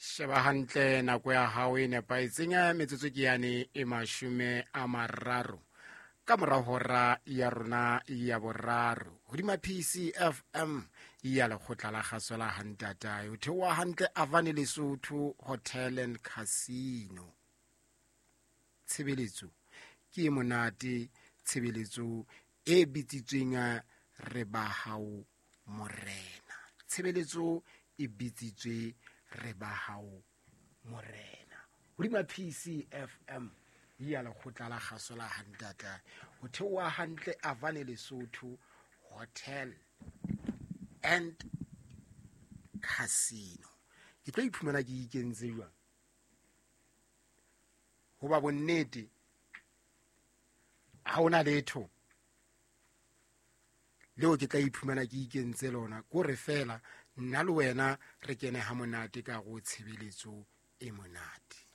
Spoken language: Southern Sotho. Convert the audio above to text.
Sheba hantle nako ya hao e nepahetseng ya metsotso ke yane e 30 ka mora hora ya rona ya boraro hodima PCFM ya lekgotla la kgaso la hantatae o theoha hantle Avane Lesotho Hotel and Casino. Tshebeletso ke e monate, tshebeletso e bitsitsweng re ba hao morena. Tshebeletso e bitsitswe re ba hao morena hodima PCFM ya lekgotla la kgaso la hantata ho theoha hantle Avane Lesotho Hotel and Casino. Ke tlo iphumana ke ikentse jwang hoba bonnete ha hona letho leo ke tla iphumana ke ikentse lona, kore fela nna le wena re kene ha monate ka go tshebeletso e monate.